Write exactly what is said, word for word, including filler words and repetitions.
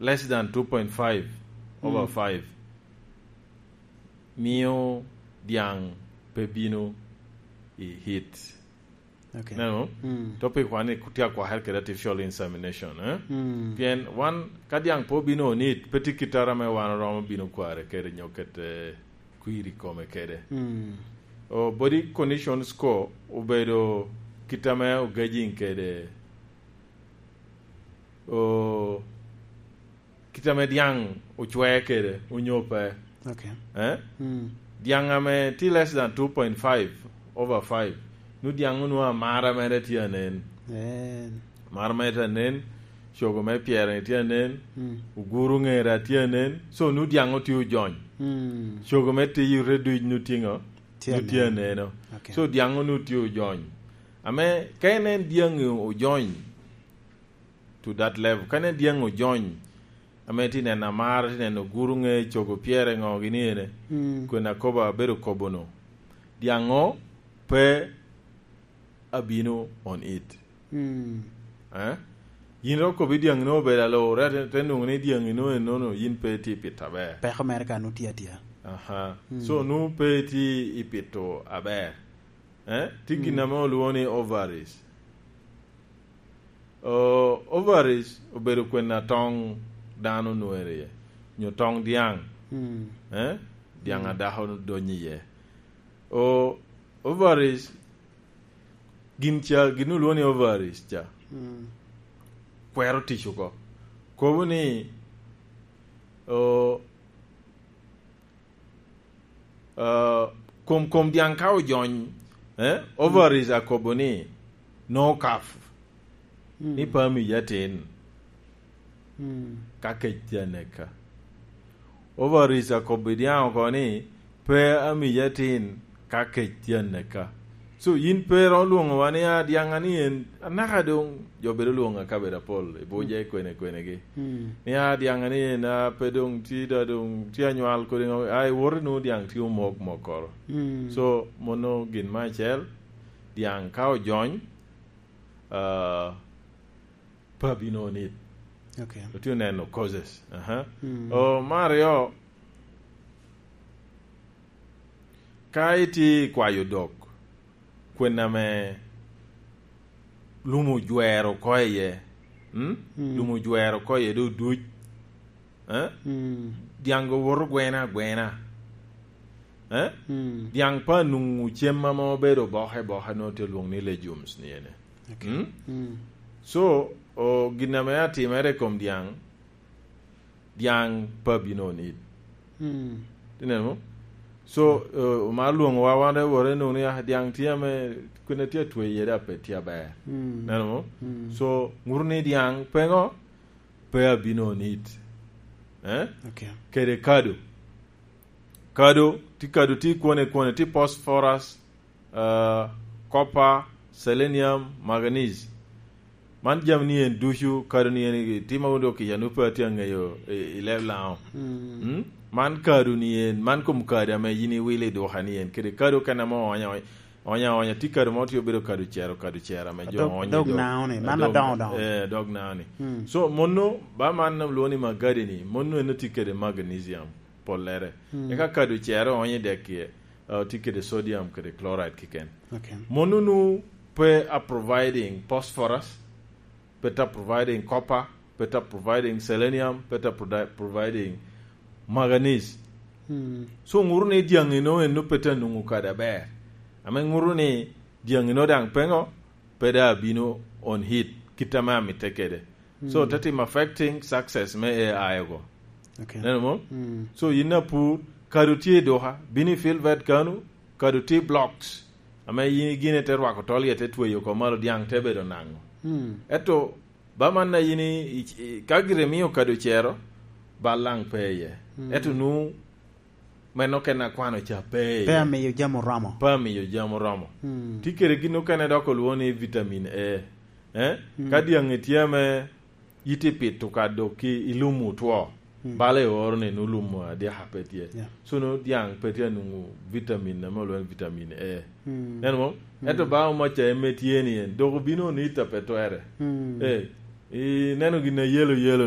less than two point five over Mm. five mio diaŋ pe bino i heat. Okay. Neno? Mm. Topic wan ni tye akwakere kede artificial insemination, eh? Mm. Pien wan, ka diaŋ pe obino onit, pe tye kit ame wan oromo bino kware kede nyo kete kwir i kome kede. Mm. O, body condition score obedo kit ame ogajing kede, o, kit ame diaŋ ocwee kede, onyo pe. Okay. Eh? Mm. Diaŋ ame tye less than two point five over five, nu diaŋ onwoŋo amara mere tye anen. Eh. Amara mere tye anen, cogo me pyere tye anen, Mm. oguru ŋera tye anen, so nu diaŋ otye ojony. Mm. Cogo me tiyo rete duc nu tye ŋo? Tye Nu tye anen. aneno. Okay. So diaŋ nu tye ojony. Ame ka inen diaŋ ojony, to that level. Ka inen diaŋ ojony, ame tye neno amara, tye neno guru ŋe, cogo pyere ŋo gini ene, Mm. kwena kobo abedo kobo no. Diaŋo pe abino on it. Mm. Eh? Yin ro kobi diaŋ no obedo alo, re te, te nwoŋo ni diaŋ no enono, yin pe tye pito aber. Peko mere ka nu tye atia. Aha. Mm. So, nu pe tye i pito aber. Eh? Tye gin Mm. ame olwoŋo ni ovaries. O, ovaries obedo kwena toŋ dano nwero iye, nyo toŋ diaŋ. Mm. Eh? Diaŋ Mm. adako donyo iye. O, ovaries, gin ca, gin olwoŋo ni ovaries ca. Mm. Kwero tic oko. Kobo ni, o, Ah, kom, kom diaŋ ka ojony, eh, ovaries akobo ni, "No calf," Mm. ni pe amiyi atin, Mm. ka kec tye aneka. Ovaries akobo i diaŋ oko ni, "Pe amiyi atin, ka kec tye aneka." So, yin pe iromo lwoŋowa ni, "Ah, diaŋ ani en," anaka doŋ jo bedo lwoŋo akabedo apol, i Abuja, i kwene, kwenegi. Mm. Ni, "Ah, diaŋ ani en, ah, pe doŋ tye da, doŋ tye anywal kodi ŋo," ah, iwoto inwoŋo diaŋ tye omok mokoro. Mm. So, mono gin me acel, diaŋ ka ojony, ah, pe abino onit. Okay. Otye oneno causes. Aha. Mm. O, me aryo, ka itye i kwayo dok, kwena ame lum ojwero oko iye, mm? Mm. Lum ojwero oko iye, dok duc. Eh? Mm. Diaŋ owoto gwena agwena. Eh? Mm. Diaŋ pe anwoŋo cem ame obedo oboke boke, nwoŋo tye lwoŋo ni legumes ni ene. Okay. Mm? Mm. So, o, gin ame atimere i kom diaŋ, diaŋ pe abino onit. Mm. Ineno? So, eh, omar lwoŋowa wan, wore nwoŋo ni, ah, diaŋ tye ame kwene tye atwe iye, da pe tye aber. Mm. Ineno mo? Mm. So, ŋuto ni diaŋ pe ŋo? Pe abino onit. Eh? Okay. Kede kado. Kado, ti kado ti kwone kwone, ti phosphorus, ah, copper, selenium, manganese. Man jami ni en ducu, kado ni en i tima wun dok kica, nu pe atye aŋeyo i, i leb Laŋo. Mm. Mm? Man kado ni en, man kom kado ame yin iwilo i duka ni en, kede kado kene ame oonyo aonya, oonyo aonya, ti kado mo tye obedo kado cero, kado cero ame jo Dog, oonyo i dog dog. Naŋo ni, man Dog, adoŋo doŋo. Eh, dog Naŋo ni. Mm. So, mono, ba man lwoŋo ni magadi ni, mono en tye kede magnesium. Pollere. Mm. Eka kado cero oonyo i dek kie, uh, tye kede sodium kede chloride keken. Okay. Mono nu pe a providing phosphorus, pe ta providing copper, pe ta providing selenium, pe ta provi-, providing manganese. Mm. So, ŋuto ni diaŋi no en nu pe ta nwoŋo kado aber. Ame ŋuto ni diaŋi no daŋ pe ŋo, pe da abino on hit, kit ame amitte kede. So, Mm. te timo affecting success me A I go. Okay. Neno mo? Mm. So, yin apur, kado tye i duka, bino i field vet kanu, kado tye blocks, ame yin igine te rwako tol iye te tweyo oko malo, diaŋ te bedo naŋo. Mm. Ento, ba man na yin i, i, i, ka gire mio kado cero, bal laŋ pe iye. Mm. Ento nu, meno kene akwano ca pe iye. Pe amiyo jami oromo. Pe amiyo jami oromo. Mm. Tye kede gin okene dok olwoŋo ni vitamin A. Eh? Mm. Ka diaŋi tye ame yiti pito ka dok ki i lum otwo, Mm. bala i oro ni nu lum adyaka pe tye. Yeah. So nu diaŋ pe tye anwoŋo vitamin ame olwoŋo ni vitamin A. Mm. Neno mo? Mm. Ento ba omaca eme tye ni en, dok obino onita pe twere. Mm. Eh, i neno gin a yelo yelo